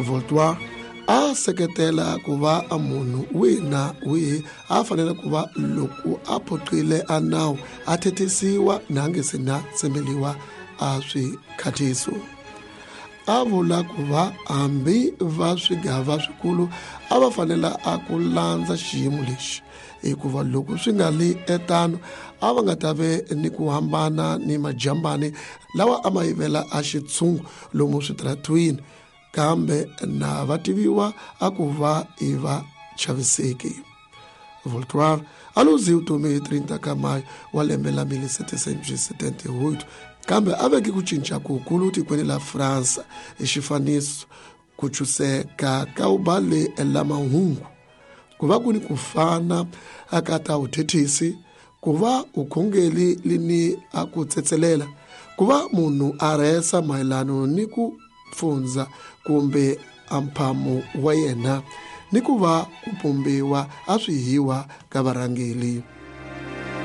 Voltaire a seketela ku va a munhu wihi na wihi a fanele ku va loko a phoqile a nawu a thethisiwa na nge se na tsemeliwa a swikhathiso. A vula ku va hambi va swigava swikulu a va fanela a ku landza xiyimo lexi, hikuva loko swi nga li etano a va nga ta ve ni ku hambana ni majambani lawa a ma yivela a xitshungu lomu switaratwini, kambe na va tiviwa a ku va i va chaviseki. Voltaire a luzi vutomi hi 30 ka mayo wa lembe la 1778, kambe a veke ku cinca kukulu tikweni la Fransa hi xifaniso ku chuseka ka ubale la mahungu, ku va ku ni ku fana aka ta vuthethisi, ku va ukhongeli lini a ku tsetselela, ku va munhu a rhesa mayelano ni ku pfundza kumbe a mphamo wa yena, ni ku va ku pumbiwa a swihiwa ka varhangeli.